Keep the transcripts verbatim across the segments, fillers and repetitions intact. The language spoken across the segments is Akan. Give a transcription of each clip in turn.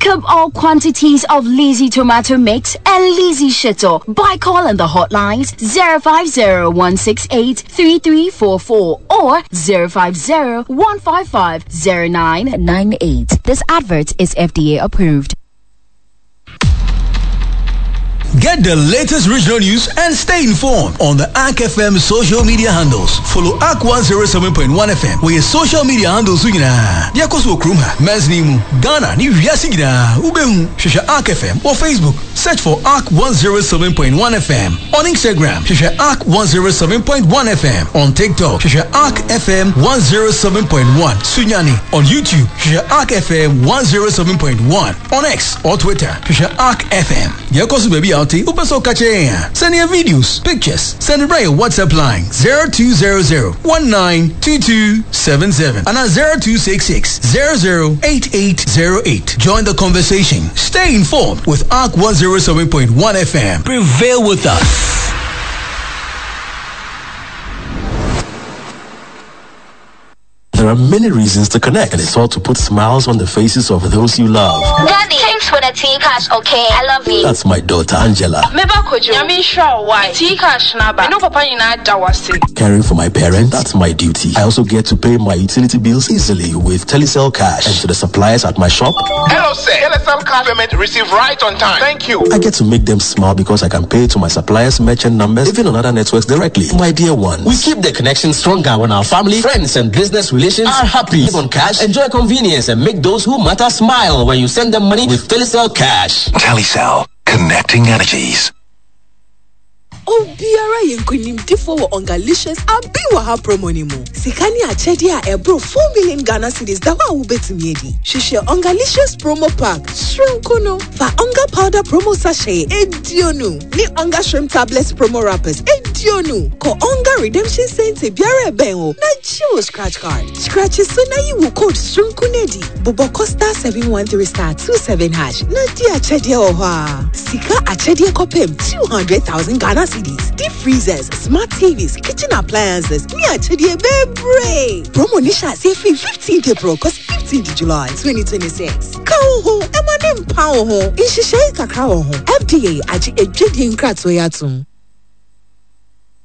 Pick up all quantities of Lizzy Tomato Mix and Lizzy Shito by calling the hotlines zero five zero one six eight three three four four or zero five zero one five five zero nine nine eight. This advert is F D A approved. Get the latest regional news and stay informed on the A R C F M social media handles. Follow A R C one zero seven point one F M with your social media handles. Nyinaa. Deɛ kɔ so wɔ kurom ha, Mɛnsini mu, Ghana ne wiase nyinaa. Wobɛhu, hwehwɛ A R C F M wɔ Facebook. Search for A R C one zero seven point one F M. On Instagram, hwehwɛ A R C one zero seven point one F M. On TikTok, hwehwɛ A R C F M one zero seven point one. Sunyani. On YouTube, hwehwɛ A R C F M one zero seven point one. On X or Twitter, hwehwɛ A R C F M. Deɛ kɔ so baabi a wote, wopɛ sɛ woka kyerɛ yɛn a, send your videos, pictures, send it right WhatsApp line zero two zero zero one nine two two seven seven and zero two six six zero zero eight eight zero eight. Join the conversation. Stay informed with A R C one zero seven point one F M. Prevail with us. There are many reasons to connect, and it's all to put smiles on the faces of those you love. Daddy, thanks for the tea cash, okay? I love you. That's my daughter, Angela. Meba kojo. Nyame nhyira wo, why? Tea cash na ba. No papa nyina da wase. Caring for my parents, that's my duty. I also get to pay my utility bills easily with Telecel Cash. And to the suppliers at my shop. Hello, sir. Telecel Cash payment received right on time. Thank you. I get to make them smile because I can pay to my suppliers' merchant numbers, even on other networks directly. My dear ones. We keep the connection stronger when our family, friends, and business relations are happy. Live on cash, enjoy convenience, and make those who matter smile when you send them money with Telecel Cash. Telecel, connecting energies. Obiara yenkunimdifo wɔ Ongalicious abi wɔ ha promo ni mu. Sika ni akyɛdeɛ a ɛboro four million Ghana cedis da hɔ a wobɛtumi adi. Hwehwɛ Ongalicious promo pack soronko no. Fa Onga powder promo sachet eduonu ne Onga shrimp tablets promo wrappers eduonu. Kɔ Onga redemption center biara ɛbɛn wo na gye wo scratch card. Scratch so na yi wo code soronko no adi. Bobɔ kɔ star seven one three star two seven hash na di akyɛdeɛ wɔ hɔ a. Sika akyɛdeɛ kɔpem two hundred thousand Ghana cedis. Deep freezers, smart T Vs, kitchen appliances, me akyɛdeɛ bebree. Promo ni hyɛ aseɛ firi fifteenth April kɔsi fifteenth July twenty twenty-six. Ka wo ho, ɛma ne mpa wo ho. Nhyehyɛe kakra wɔ ho. F D A agye adwadie nkratoɔ yi atom.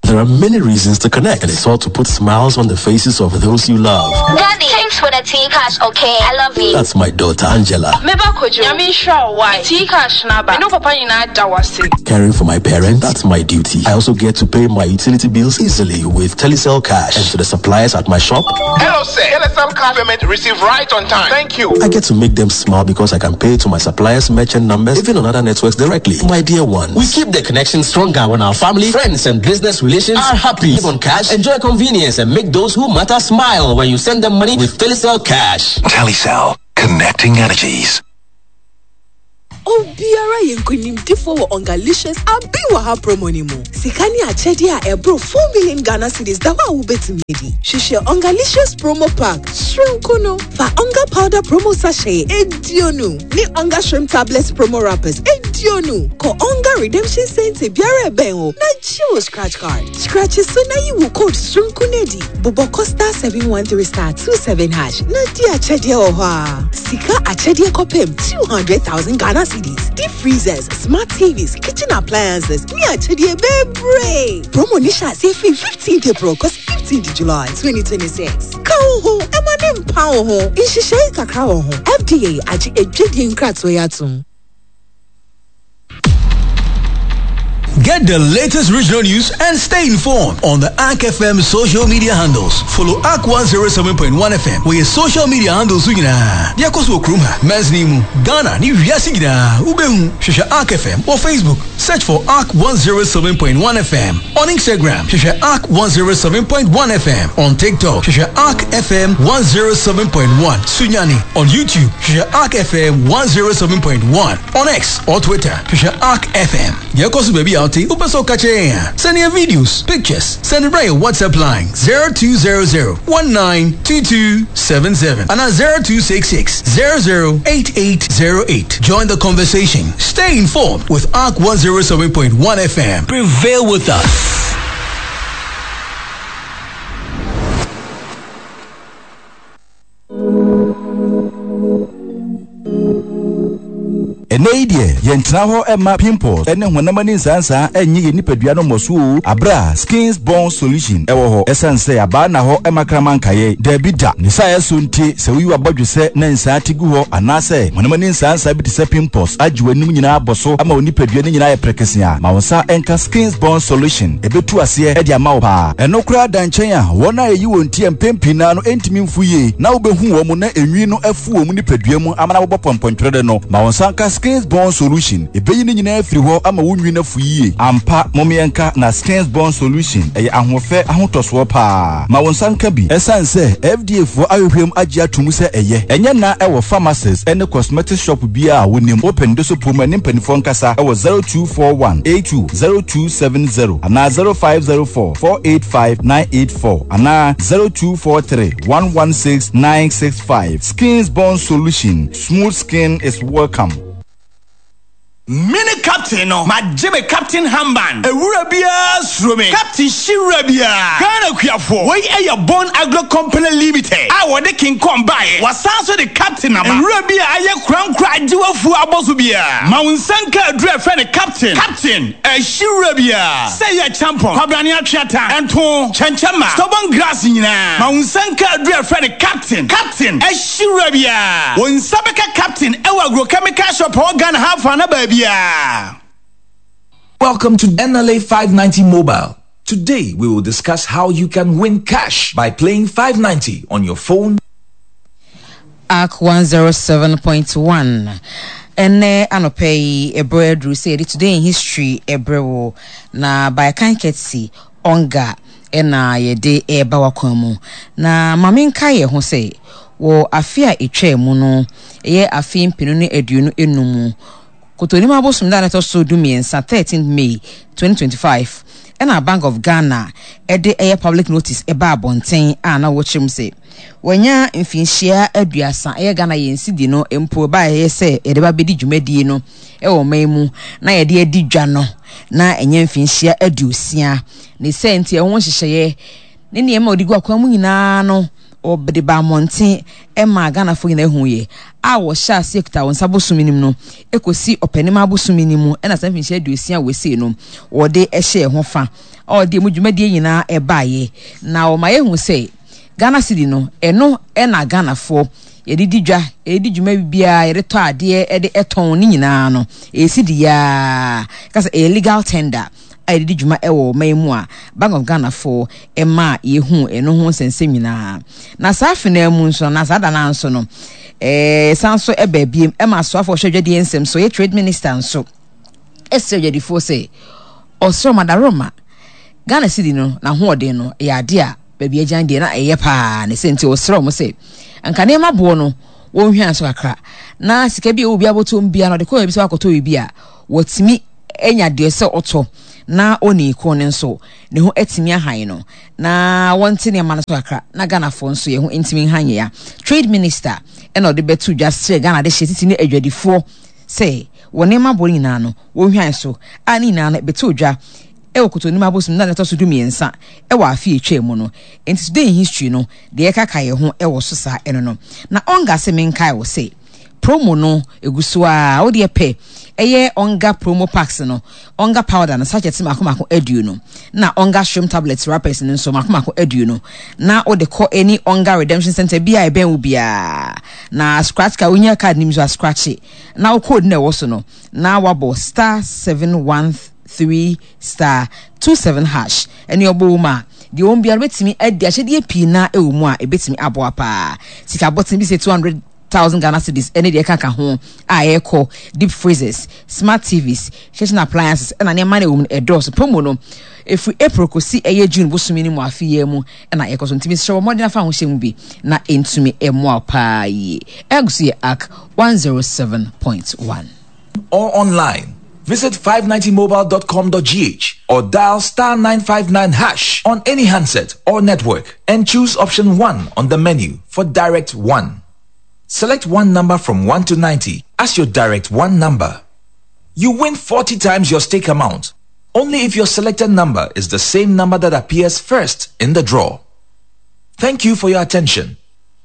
There are many reasons to connect, and it's all to put smiles on the faces of those you love. Daddy, thanks for the tea cash, okay? I love you. That's my daughter, Angela. Meba kojo. Nyame nhyira wo, why? Tea cash na ba. No papa nyina da wase. Caring for my parents, that's my duty. I also get to pay my utility bills easily with Telecel Cash. And to the suppliers at my shop. Hello, sir. Telecel Cash payment received right on time. Thank you. I get to make them smile because I can pay to my suppliers' merchant numbers, even on other networks directly. My dear ones. We keep the connection stronger when our family, friends, and business relations are happy. Live on cash, enjoy convenience, and make those who matter smile when you send them money with Telecel Cash. Telecel, connecting energies. Obiara yenkunimdifo wɔ Ongalicious abi wɔ ha promo ni mu. Sika ni akyɛdeɛ a ɛboro four million Ghana cedis da hɔ a wobɛtumi adi. Hwehwɛ Ongalicious promo pack soronko no. Fa Onga powder promo sachet eduonu ne Onga shrimp tablets promo wrappers eduonu. Kɔ Onga redemption center biara ɛbɛn wo na gye wo scratch card. Scratch so na yi wo code soronko no adi. Bobɔ kɔ star seven one three star two seven hash na di akyɛdeɛ wɔ hɔ a. Sika akyɛdeɛ kɔpem two hundred thousand Ghana cedis. Deep freezers, smart T Vs, kitchen appliances, me akyɛdeɛ bebree. Promo ni hyɛ aseɛ firi fifteenth April kɔsi fifteenth July twenty twenty-six. Ka wo ho, ɛma ne mpa wo ho. Nhyehyɛe kakra wɔ ho. F D A agye adwadie nkratoɔ yi atom. Get the latest regional news and stay informed on the A R C F M social media handles. Follow A R C one zero seven point one F M with your social media handles. Nyinaa. Deɛ kɔ so wɔ kurom ha, Mɛnsini mu, Ghana ne wiase nyinaa. Wobɛhu, hwehwɛ A R C F M wɔ Facebook. Search for A R C one zero seven point one F M. On Instagram, hwehwɛ A R C one zero seven point one F M. On TikTok, hwehwɛ A R C F M one zero seven point one. Sunyani. On YouTube, hwehwɛ A R C F M one zero seven point one. On X or Twitter, hwehwɛ A R C F M. Deɛ kɔ so baabi a wote, wopɛ sɛ woka kyerɛ yɛn a, send your videos, pictures, send it right your WhatsApp line zero two zero zero one nine two two seven seven and zero two six six zero zero eight eight zero eight. Join the conversation. Stay informed with A R C one zero seven point one F M. Prevail with us. Ɛnɛ yi deɛ, yɛntena hɔ ɛma pimples ɛne honam ani nsansan ɛnyɛ yɛn nipadua no mmɔso o. Abra Skins Born Solution ɛwɔ hɔ. Ɛsiane sɛ abaa na hɔ ɛma kraman nkaeɛ. Daabi da. Ne saa ɛso nti, sɛ woyi wabɔdwe sɛ na nsaa ti gu hɔ anaasɛ honam ani nsansan bi te sɛ pimples agye w'anim nyinaa abɔ so ama wo nipadua no nyinaa yɛ prɛkɛse a, ma wo nsa ɛnka Skins Born Solution. Ɛbɛtu aseɛ ɛde ama wo paa. Ɛno koraa da nkyɛn a, wɔn a ɛyi wɔn ti a mpɛn pii naa no ɛntumi mfu yie na wobɛhu wɔn mu na enwi no afu wɔn nipadua mu ama na wɔbɔ pɔmpɔntwerɛ no, ma wo nsa nka Skins Born Solution. Ɛbɛyi ne nyinaa afiri hɔ ama wo nwi no afu yie. Ampa, momeɛnka na Skins Born Solution ɛyɛ ahoɔfɛ ahotɔsoɔ paa. Ma wo nsa nka bi. Ɛsiane sɛ F D A foɔ ahwehwɛ mu agye ato mu sɛ ɛyɛ. Ɛnyɛ na ɛwɔ pharmacies ɛne cosmetic shop biara a wonim. Open de so pom ne mpanimfoɔ nkasa ɛwɔ zero two four one eight two zero two seven zero anaa zero five zero four four eight five nine eight four anaa zero two four three one one six nine six five. Skins Born Solution. Smooth skin is welcome. Mini captain no, magye me captain handband. Ewura biara suro me. Captain hyewura biara. Ghana kuafoɔ. Wei ɛyɛ Bon Agro Company Limited a wɔde King Kong baeɛ. Wasan so de captain aba. Ewura bi a ayɛ korankora agye wafuo abɔ so biara. Ma wo nsa nka aduru a ɛfrɛ no captain. Captain ɛhyewura biara. Sɛ yɛ champon, kwabrane atweata, ɛnto, kyɛnkyɛnma, stubborn grass nyinaa. Ma wo nsa nka aduru a ɛfrɛ no captain. Captain ɛhyewura biara. Wo nsa bɛka captain ɛwɔ agrochemical shop a ɛwɔ Ghana ha afa na baabi. Welcome to N L A five ninety Mobile. Today we will discuss how you can win cash by playing five ninety on your phone. A C one oh seven point one. Ɛnɛ anɔpɛ yi, ɛberɛ aduru sɛ yɛde Today in History ɛberɛ wo na by kan kɛtsi ɔnga ɛna yɛde ɛreba wakwan mu. Na maame nka yɛ ho sɛ wɔ afe a ɛtwaa mu no, ɛyɛ afe mpenu ne aduonu enum mu, Kotonim abosom da a ɛtɔ so du mmiɛnsa, thirteen May twenty twenty-five, ɛna Bank of Ghana ɛde ɛyɛ public notice ɛba abɔnten a na wɔkyerɛ mu sɛ wɔanya mfinhyia aduasa ɛyɛ Ghana yɛn sidi no mpo ɛba ɛyɛ sɛ yɛde ba bɛdi dwumadie no ɛwɔ ɔman mu na yɛde adi dwa no na ɛnyɛ mfinhyia aduosia ne sɛ nti ɛho nhyehyɛeɛ ne nneɛma a wɔde gu akwan mu nyinaa no, wɔde ba mmɔnten ɛma Ghanafoɔ nyinaa ehu yɛ a wɔhyɛ aseɛ kuta wɔn nsa bosom nim no ekosi Ɔpɛnim abosom nim mu. Ɛna saa mfinhyia aduosia a wɔsie no, wɔde ɛhyɛ ɛho fa a wɔde emu dwumadie nyinaa ɛbaayɛ na wɔma yɛhu sɛ Ghana cedi no, ɛno ɛna Ghanafoɔ yɛde di dwa, yɛde di dwuma biara, yɛde tɔ adeɛ, yɛde ɛtɔn ne nyinaa no, ɛyɛ cedi yaa kasa, ɛyɛ legal tender a yɛde di dwuma ɛwɔ ɔman mu a Bank of Ghana foɔ ɛma yɛhu ɛno ho nsɛnsɛm nyinaa. Na saa afenaa mu nso na saa dana nso no, ɛɛ san so ɛbɛ biem ɛma asoafoɔ hwɛ dwadie nsɛm so, yɛ trade minister nso ɛsrɛ dwadifoɔ sɛ ɔsrɛ ɔmadaroma Ghana cedi no n'ahoɔden no ɛyɛ adeɛ a baabi agyan deɛ na ɛyɛ paa ne sɛ nti ɔsrɛ ɔmo sɛ nka nneɛma boɔ no wɔnhwɛ nso kakra na sika bi a ɛwɔ bi abɔtɔm bia no ɔde kɔ baabi sɛ wakɔtɔ biribi a wɔtumi anya deɛ sɛ ɔtɔ na ɔne ko no nso ne ho atumi ahan no na wɔnte nneɛma no so kakra na Ghanafoɔ nso yɛn ho ntumi nhan yɛ ya. Trade minister ɛna ɔde bɛto dwa srɛ Ghana de hyɛ titi ne adwadifoɔ sɛ wɔn nneɛma boɔ nyinaa no wɔnhwan so a ne nyinaa no bɛto dwa ɛwɔ Kotonim abosom na ɛtɔ so du mmiɛnsa ɛwɔ afe etwa mu no. Nti Today in History no deɛ ɛkaka yɛn ho ɛwɔ so saa ɛno no. Na ɔnga sɛ menkae wɔ sɛ promo no egu so a wodeɛ pɛ ɛyɛ Ɔnga promo packs no, Ɔnga powder no sachet mako mako aduonu na Ɔnga shrimp tablets wrappers no nso mako mako aduonu na wode kɔ any Ɔnga redemption center bi a ɛbɛn wo biara na scratch card, wonya card nim so a, scratch na wo code na ɛwɔ so no na wabɔ star seven one three star two seven hash ɛne ɔbɔ wo mu a, deɛ wɔn biara bɛtumi adi ahyɛdeɛ pii na ɛwɔ mu a ɛbɛtumi aboa paa. Sika abɔten bi sɛ two hundred thousand Ghana cedis ɛne deɛ ɛkaka ho a ɛrekɔ, deep freezers, smart T Vs, kitchen appliances ɛna nneɛma no ɛwɔ mu no ɛdɔɔso. Promo no ɛfiri April kɔsi ɛyɛ June bosomi no mu afe yi mu ɛna ɛkɔ so, ntumi srɛ wɔ mmɔden afa ahohyɛ mu bi na ɛntumi ɛmmoa paa yie. Ɛgu so yɛ A C one oh seven point one. Or online. Visit five ninety mobile dot com dot G H or dial star nine five nine hash on any handset or network and choose option one on the menu for Direct one. Select one number from one to ninety as your Direct one number. You win forty times your stake amount only if your selected number is the same number that appears first in the draw. Thank you for your attention.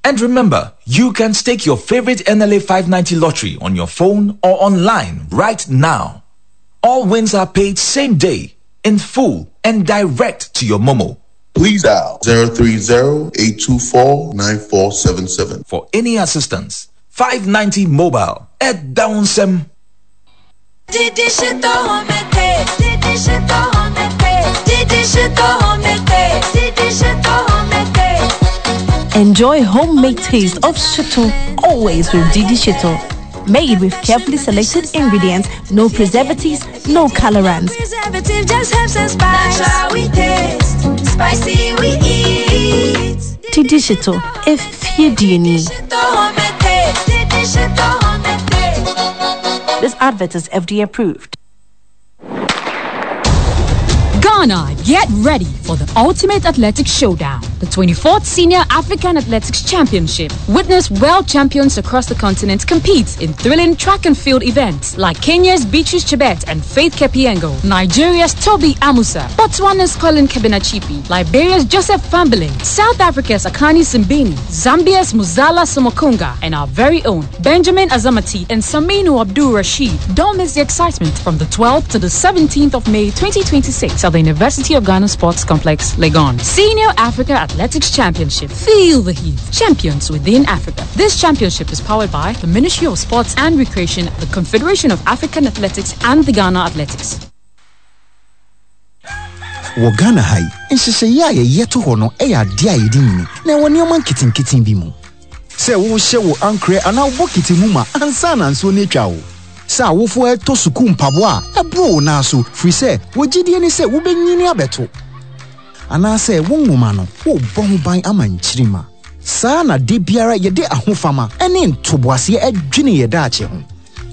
And remember, you can stake your favorite N L A five ninety lottery on your phone or online right now. All wins are paid same day, in full, and direct to your Momo. Please dial zero three zero, eight two four, nine four seven seven. For any assistance, five ninety Mobile at Downsem. Enjoy homemade taste of shito always with Didi Shito. Made with carefully selected ingredients, no preservatives, no colorants. Preservative just helps and spice. Natural we taste, spicy we eat. Didi Shito, if you do need. This advert is F D A approved. Ghana, get ready for the ultimate athletic showdown, the twenty-fourth Senior African Athletics Championship. Witness world champions across the continent compete in thrilling track and field events like Kenya's Beatrice Chebet and Faith Kipyegon, Nigeria's Tobi Amusan, Botswana's Colin Kebinatshipi, Liberia's Joseph Fambeling, South Africa's Akani Simbine, Zambia's Muzala Samukonga, and our very own Benjamin Azamati and Saminu Abdul Rashid. Don't miss the excitement from the twelfth to the seventeenth of May twenty twenty-six at the University of Ghana Sports Complex, Legon. Senior Africa Athletics Championship. Feel the heat. Champions within Africa. This championship is powered by the Ministry of Sports and Recreation, the Confederation of African Athletics, and the Ghana Athletics. Wɔ Ghana ha yi, nhyehyɛeɛ a yɛyɛ to hɔ no yɛ adeɛ a yɛde nyini na ɛwɔ nneɛma nketenkete bi mu. Sɛ wohyɛ wo ankorɛ anaa wo bokiti mu ma ansa na nsuo no atwa wo. Sɛ awofoɔ ɛtɔ sukuu mpaboa a ɛboro wo nan so firi sɛ wɔgyidie ne sɛ wobɛnyini abɛto. Anaasɛ wo nwoma no, wobɔ ho ban ama nkyirima. Saa na de biara yɛde ahofama ɛne ntoboaseɛ ɛdwene yɛ daakye ho.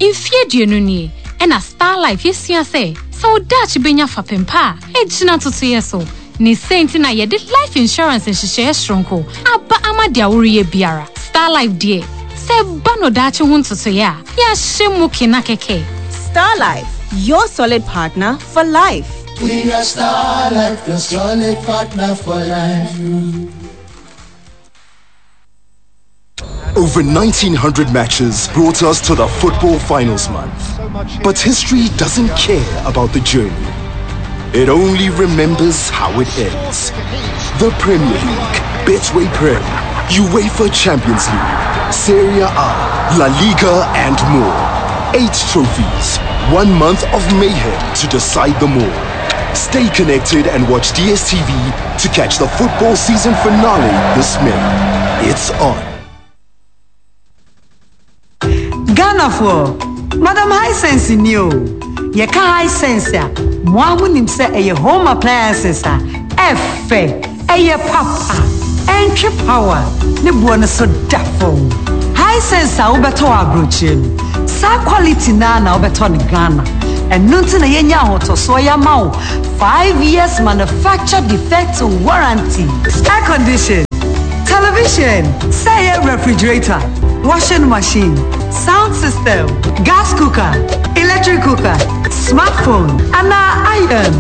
Mfie aduonu nie, ɛna Star Life yɛsua sɛ, sɛ wo daakye bɛnya fapem pa a, ɛgyina totoeɛ so. Ne sɛ nti na yɛde life insurance nhyehyɛeɛ soronko aba ama deɛ woreyɛ biara. Star Life deɛ, sɛ ba no daakye ho ntotoeɛ a, yɛahyɛ mu kena kɛkɛ. Star Life, your solid partner for life. We are Star Life, your solid partner for life. Over nineteen hundred matches brought us to the football finals month. But history doesn't care about the journey. It only remembers how it ends. The Premier League, Betway Prem, UEFA Champions League, Serie A, La Liga and more. Eight trophies, one month of mayhem to decide them all. Stay connected and watch D S T V to catch the football season finale this May. It's on. Ghana for Madam Hisense new. Ye ka Hisense a mo amunim se eye home appliances a F eye papa entry power ne bo no so da fam. Hisense a wo beto abrochire no. Sa quality na na wo beto ne Ghana. Eno nti na yenya ahotoso ya ma wo five years manufacture defect warranty. Air condition, television, say refrigerator, washing machine, sound system, gas cooker, electric cooker, smartphone, and iron.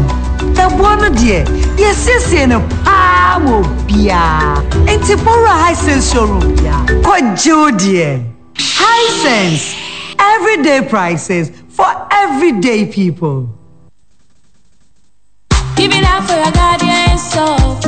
The one dear, yes, yes, no power bia. Enti pora Hisense showroom ya. Kojo dear. Hisense, everyday prices for everyday people. Give it up for your guardian soul.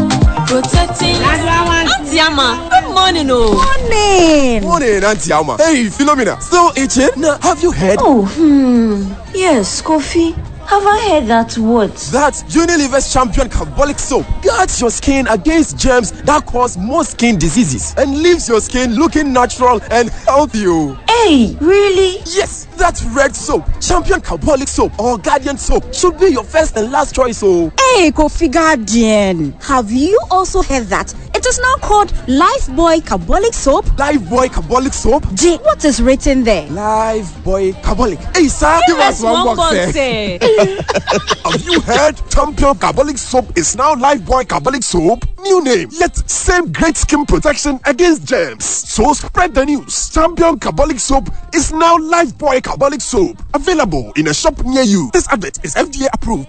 Protecting Auntie Ama, good morning, oh. Morning. Morning, Auntie Ama. Hey, Philomena, still itching? Now, have you heard? Oh, hmm. Yes, Kofi. Have I heard that what? That Unilever's Champion Carbolic Soap guards your skin against germs that cause most skin diseases and leaves your skin looking natural and healthy. Hey, really? Yes, that red soap, Champion Carbolic Soap or Guardian Soap should be your first and last choice. Oh. Hey, Kofi Guardian, have you also heard that it is now called Lifebuoy Carbolic Soap? Lifebuoy Carbolic Soap? Gee, what is written there? Lifebuoy Carbolic. Hey, sir, give, give us one, one box. box eh. Have you heard? Champion Carbolic Soap is now Lifebuoy Carbolic Soap. New name, yet same great skin protection against germs. So spread the news. Champion Carbolic Soap is now Lifebuoy Carbolic Soap. Available in a shop near you. This advert is F D A approved.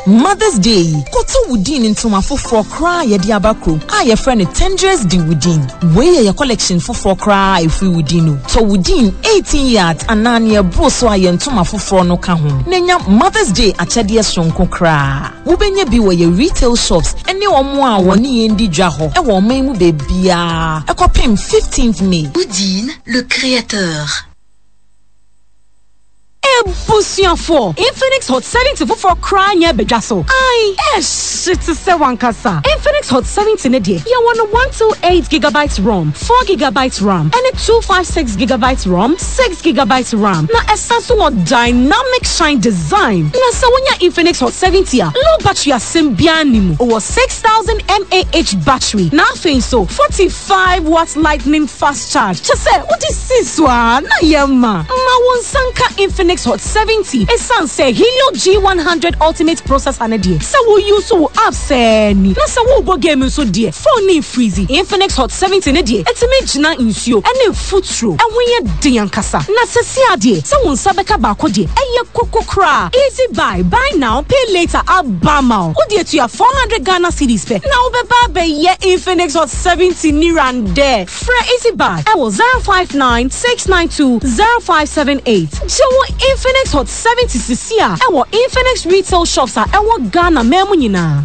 Mother's Day yi, kɔtɔ Woodin ntoma foforɔ koraa a yɛde aba kurom a yɛfrɛ no Tendress de Woodin. Wei yɛ yɛ collection foforɔ koraa a ɛfiri Woodin no. Tɔ Woodin eighteen yards anaa nea ɛboro so a yɛn ntoma foforɔ no ka ho. Na nya Mother's Day akyɛdeɛ soronko koraa. Wobɛnya bi wɔ yɛ retail shops ne wɔn a wɔne yɛn di dwa hɔ wɔ ɔman mu baabiara ɛkɔpem fifteenth May. Woodin, le créateur. Ebusuafo, Infinix Hot seventy foforɔ koraa nyɛ badwa so. Ai, ɛhye te sɛ wankasa. Infinix Hot seventy ne deɛ, yɛwɔ no one two eight gigabytes ROM, four gigabytes RAM, ɛne two five six gigabytes ROM, six gigabytes RAM. Na ɛsan so wɔ dynamic shine design. Na sɛ wonya Infinix Hot seventy a, low battery asɛm biara nni mu. Ɔwɔ six thousand mAh battery. Na afei nso, forty five watt lightning fast charge. Kyɛ sɛ wode si so a, na yɛ ma. Ma wo nsa nka Infinix Hot seventy. Ɛsiane sɛ Helio G one hundred Ultimate processor ne deɛ, sɛ wo use wo app sɛɛ ni. Na sɛ wobɔ game nso deɛ, phone ne freeze. Infinix Hot seventy ne deɛ, ɛtumi gyina nsuo ɛne mfuturo. Ɛho yɛ den ankasa. Na sɛsi adeɛ, sɛ wo nsa bɛka baako deɛ, ɛyɛ koko koraa. Easy buy, buy now, pay later aba ma wo. Wode atua four hundred Ghana cedis pɛ. Na wobɛba abɛyɛ Infinix Hot seventy nirandɛ. Frɛ Easy Buy ɛwɔ zero five nine six nine two zero five seven eight. Gye wo Infinix Hot seventy sisi a ɛwɔ Infinix retail shops a ɛwɔ Ghana man mu nyinaa.